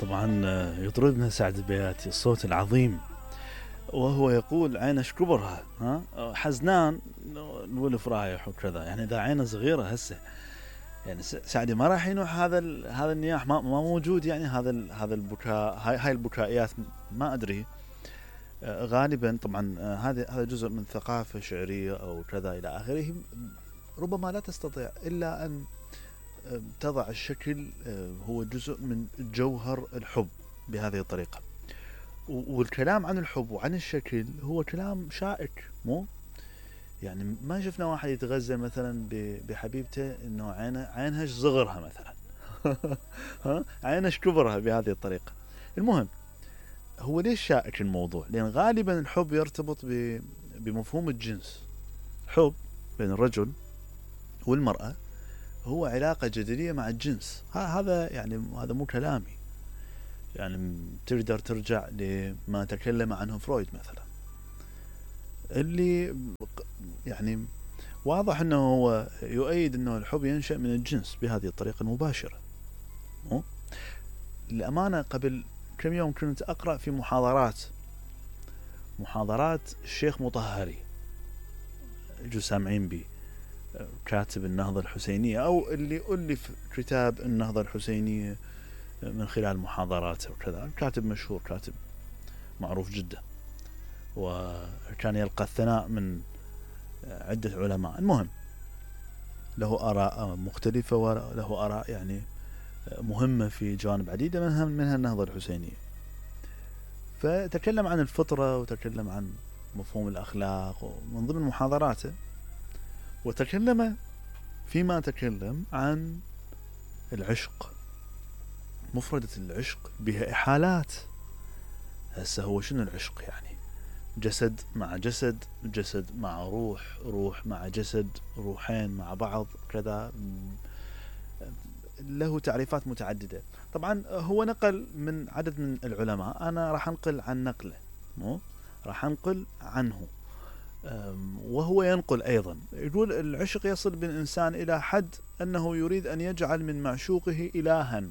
طبعا يطربنا سعد البياتي الصوت العظيم وهو يقول عينش كبرها حزنان الولف رايح وكذا. يعني اذا عينه صغيره هسه يعني سعدي ما راح ينوح هذا النياح ما موجود. يعني هذا البكاء هاي البكائيات ما ادري. غالبا طبعا هذا جزء من ثقافه شعريه او كذا الى اخره. ربما لا تستطيع الا ان تضع الشكل هو جزء من جوهر الحب بهذه الطريقة. والكلام عن الحب وعن الشكل هو كلام شائك مو يعني ما شفنا واحد يتغزل مثلا بحبيبته انه عينها صغرها مثلا عينها كبرها بهذه الطريقة. المهم هو ليش شائك الموضوع؟ لان غالبا الحب يرتبط بمفهوم الجنس. حب بين الرجل والمرأة هو علاقة جدلية مع الجنس. هذا يعني هذا مو كلامي. يعني تقدر ترجع لما تكلم عنه فرويد مثلا اللي يعني واضح انه هو يؤيد انه الحب ينشأ من الجنس بهذه الطريقة المباشرة. الأمانة قبل كم يوم كنت أقرأ في محاضرات الشيخ مطهري جو سامعين بي كاتب النهضة الحسينية أو اللي ألف كتاب النهضة الحسينية من خلال محاضراته وكذا. كاتب مشهور كاتب معروف جدا وكان يلقى الثناء من عدة علماء. المهم له آراء مختلفة وله آراء يعني مهمة في جوانب عديدة منها النهضة الحسينية. فتكلم عن الفطرة وتكلم عن مفهوم الأخلاق ومن ضمن محاضراته وتكلم فيما تكلم عن العشق. مفردة العشق بها إحالات. هسه هو شنو العشق؟ يعني جسد مع جسد، جسد مع روح، روح مع جسد، روحين مع بعض كذا. له تعريفات متعددة. طبعا هو نقل من عدد من العلماء. أنا راح أنقل عن نقله راح أنقل عنه وهو ينقل أيضا. يقول العشق يصل بالإنسان إلى حد أنه يريد أن يجعل من معشوقه إلها.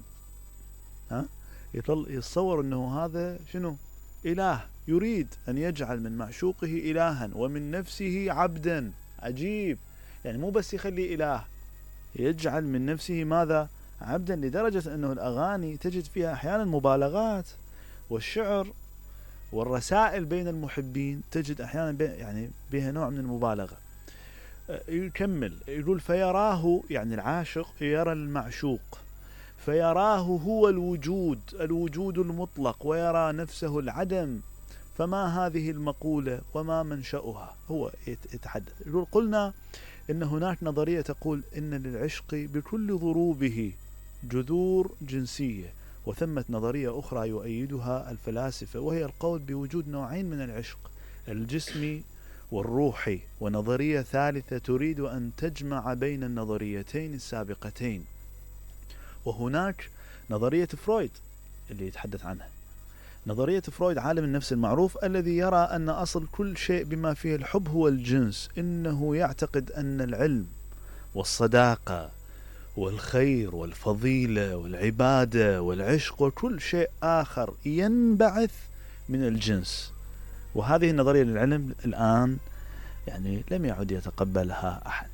يتصور أنه هذا شنو؟ إله. يريد أن يجعل من معشوقه إلها ومن نفسه عبدا. عجيب. يعني مو بس يخلي إله، يجعل من نفسه ماذا؟ عبدا. لدرجة أنه الأغاني تجد فيها أحيانا مبالغات، والشعر والرسائل بين المحبين تجد أحيانا يعني بها نوع من المبالغة. يكمل يقول فيراه، يعني العاشق يرى المعشوق فيراه هو الوجود المطلق ويرى نفسه العدم. فما هذه المقولة وما منشأها؟ هو يتحدث يقول قلنا إن هناك نظرية تقول إن للعشق بكل ضروبه جذور جنسية، وثمة نظرية أخرى يؤيدها الفلاسفة وهي القول بوجود نوعين من العشق، الجسمي والروحي، ونظرية ثالثة تريد أن تجمع بين النظريتين السابقتين. وهناك نظرية فرويد اللي يتحدث عنها. نظرية فرويد عالم النفس المعروف الذي يرى أن أصل كل شيء بما فيه الحب هو الجنس. إنه يعتقد أن العلم والصداقة والخير والفضيلة والعبادة والعشق وكل شيء آخر ينبعث من الجنس. وهذه النظرية للعلم الآن يعني لم يعد يتقبلها أحد.